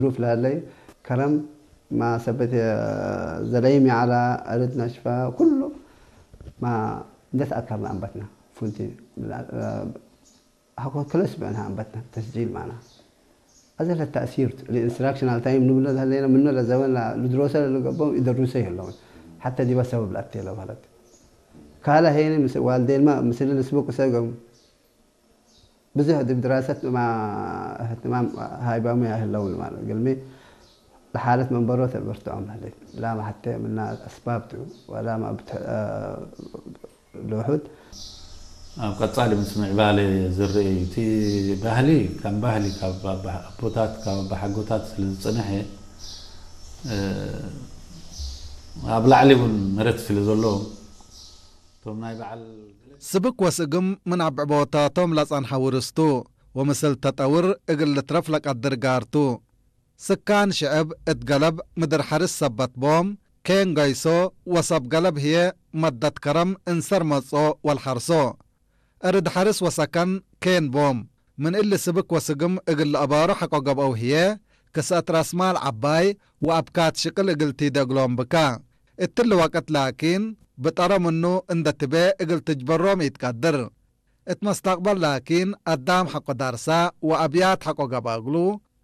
ظروف لا لي كرم ما سبت زليمي على أرد نشفة كله ما ندس أكرنا أنبتنا فهمتي هاكو كل أسبوع نها أنبتنا تسجيل معنا هذا التأثير الانستراكشن على تايم نبلة هلينا من نرى زمان لا لدروسة اللي قبهم يدرسوا يهلون حتى دي بس سبب لا أتيلا بلد كالا هيني مس والدين ما مثل الأسبوع كسر قم ብዙሕ ድብ ድራሰት እማ እህትማም ሃይባሙ ያህለውን ማለት ግልሚ ለሓለት መንበሮ ተበርትዖም ህሌት ላማ ሓተ ምና ኣስባብቱ ወላማ ብትሕ- እ፣ ልውሑድ ኣብ ቀጻሊ ምስ ምዕባለ ዝረአዩ እቲ ባህሊ ከም ባህሊ ካብ ኣባ- ኣቦታት ካብ ኣባሓጎታት ስለ ዝጸንሐ እ፣ ኣብ ላዕሊ እውን መረት ስለ ዘለዎም እቶም ናይ በዓል ስብክ ወስእግም ምን ኣብ ዕቦታቶም ለጸንሐ ውርስቱ ወምስል ተጠውር እግል ልትረፍ ለቀድር ጋርቱ። ስካን ሽዕብ እት ገለብ ምድር ሐርስ ሰበት ቦም፣ ኬን ገይሶ ወሰብ ገለብ ህዬ መደት ከረም እንሰር መጽኦ ወልሐርሶ። እርድ ሐርስ ወሰከን ኬን ቦም። ምን እሊ ስብክ ወስግም እግል ለአባሩ ሐቆ ገብአው ህዬ፣ ክሰእት ራስማል ዐባይ ወአብካት ሽቅል እግል ቲደ እግሎም ብካ። እትሊ ወቅት ላኪን፣ ብጠረ ምኑ እንደ ትቤ እግል ትጅበሮም ኢትቀድር። እት መስተቅበል ላኪን፣ አዳም ሐቆ ዳርሳ ወአብያት ሐቆ ገብአ እግሉ፣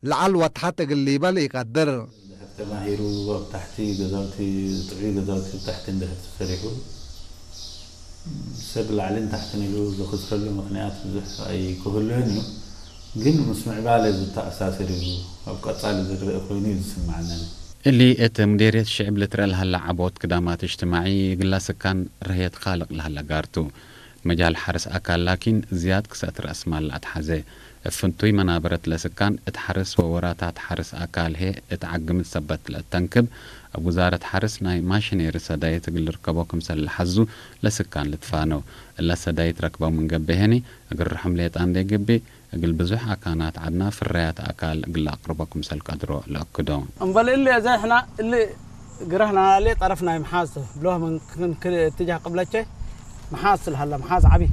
ለዐል ወተሐት እግል ሊበል ኢቀድር። እንድሕር ተማሂሩ ኣብ ታሕቲ ገዛውቲ ጥዑይ ገዛውቲ ኣብ ታሕቲ እንድሕር ተሰሪሑ ሰብ ላዕልን ታሕትን ኢሉ ዝኽስረሉ ምኽንያት ብዙሕ ኣይክህሉን እዩ። ግን ምስ ምዕባለ ዝተኣሳሰር እዩ ኣብ ቀጻሊ ዝረአ ኮይኑ እዩ ዝስምዓኒ። እሊ እት ሙዴርየት ሽዕብ ልትረአ ለሀለ ዐቦት ክዳማት እጅትማዒ እግላ ስካን ረህየት ካልቅ ለሀለ ጋርቱ። መጃል ሐርስ ኣካል ላኪን ዝያድ ክሰእት ረእስማል ለኣትሓዘ። እብ ፍንቱይ መናበረት ለስካን እት ሐርስ ወወራታት ሐርስ ኣካል ህዬ እት ዓግምት ሰበት ለእተንክብ፣ እብ ውዛረት ሐርስ ናይ ማሽኔሪ ሰዳይት እግል ልርከቦ ክምሰል ለሐዙ ለስካን ልትፋነው። እለ ሰዳይት ረክበው ምን ገብእ ህኒ እግል ርሑም ሌጣ እንዴ ገብእ፣ እግል ብዙሕ ኣካናት ዐድና ፍረያት ኣካል እግል ለአቅርቦ ክምሰል ቀድሮ ለአክዶ። እምበል እሊ እዘ ሕና እሊ ግረህና ሌ ጠረፍ ናይ መሓዝ ብሎህ ምን ክን ክል እትጃህ ቅብለቼ መሓዝ ስልሃላ መሓዝ ዓቢ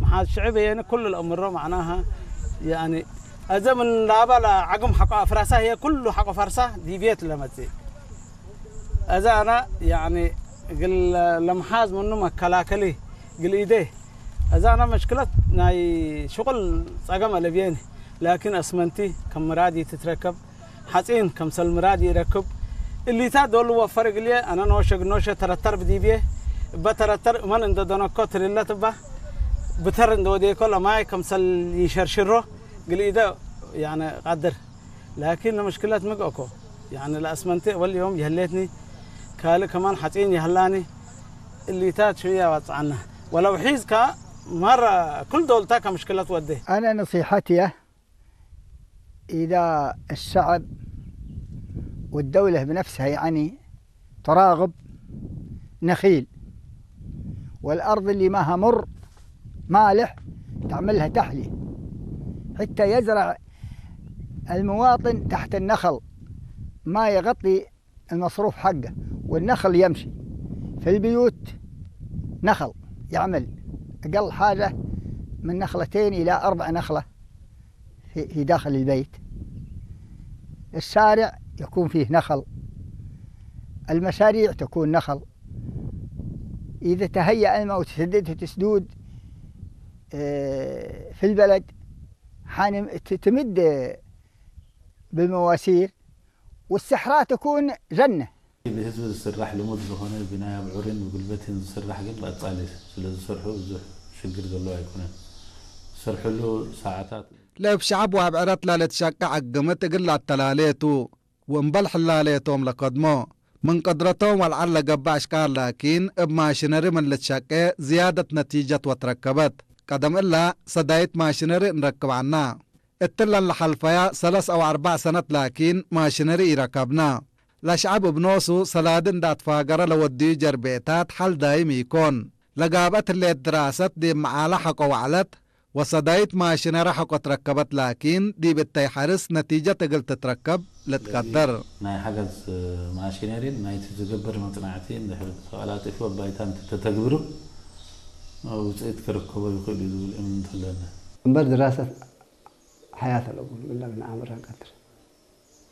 መሓዝ ሽዕብ የኒ ኩሉ ለእምሮ ማዕናሃ ያኒ እዘ ምን ላባ ለዓግም ሓቆ ኣፍራሳ ህየ ኩሉ ሓቆ ፋርሳ ዲቤት ለመጽእ እዛ ኣና ያኒ ግል ለመሓዝ ምኑ መከላከሊ ግል ኢደ እዛ ኣና መሽክለት ናይ ሽቁል ጸገም ኣለብየኒ ላኪን ኣስመንቲ ከም ምራድ ትትረከብ ሓጺን ከምሰል ምራድ ይረክብ እሊታት ዶሉ ወፈር እግልየ ኣነ ኖሸ ግኖሸ ተረተር ብዲብየ እበ ተረተር እመን እንደ ደነኮ ትልለት እባ ብተር እንደ ወዴኮ ለማይ ከምሰል ይሸርሽሮ ግልኢደ ያነ ቃድር ላኪን ለመሽክለት ምግእኮ ያነ ለአስመንቴ ወል ዮም የህሌትኒ ካልእ ከማን ሓጺን የህላኒ እሊታት ሽያ ዋጽዓና ወለው ሒዝካ ማራ ኩል ዶልታ ከመሽክለት ወዴ أنا نصيحتي إذا الشعب والدولة بنفسها يعني تراغب نخيل والأرض اللي ماها مر مالح تعملها تحلية حتى يزرع المواطن تحت النخل ما يغطي المصروف حقه والنخل يمشي في البيوت نخل يعمل أقل حاجة من نخلتين إلى أربع نخلة في داخل البيت الشارع يكون فيه نخل المشاريع تكون نخل إذا تهيأ الماء وتسددت سدود في البلد حان تمد بالمواسير والصحراء تكون جنة ብህዝቢ ዝስራሕ ልሙድ ዝኾነ ብናይ ኣብዑርን ብጉልበትን ዝስራሕ ግን ብቐጻሊ ስለ ዝሰርሑ ብዙሕ ሽግር ዘለዎ ኣይኮነን። ዝሰርሕሉ ሰዓታት ለእብ ሸዐብ ወእብ ዕረት ለልትሸቄ ዐግምት እግል ለአተላሌ ቱ። ወእምበል ሕላሌቶም ለከድሞ። ምን ቅድረቶም ወልዓል ለገብእ አሽካል ላኪን እብ ማሽነሪ ምን ልትሸቄ ዝያደት ነቲጀት ወትረከበት። ቀደም እላ ሰዳይት ማሽነሪ እንረክብ ዐና። እትለን ለሐልፈያ ሰለስ አው አርበዕ ሰነት ላኪን ማሽነሪ ኢረከብና። ለሸዐብ እብ ኖሱ ሰላዲ እንደ አትፋገረ ለወድዩ ጀርቤታት ሐል ዳይም ኢኮን። ለጋብአት ህሌት ድራሰት ዲብ መዓለ ሐቆ ወዐለት ወሰዳይት ማሽነሪ ሐቆ ትረከበት ላኪን ዲብ እተይ ሐርስ ነቲጀት እግል ትትረከብ ልትቀደር። ናይ ሐገዝ ማሽነሪን ናይቲ ዝግበር መጽናዕቲ እንድሕር ተቐላጢፉ ኣብ ባይታ እንተተተግብሩ ውጽኢት ክርከቦ ይኽእል እዩ ዝብል እምነት ኣለኒ። እምበር ድራሰት حياة الأم إلا من أمر قدر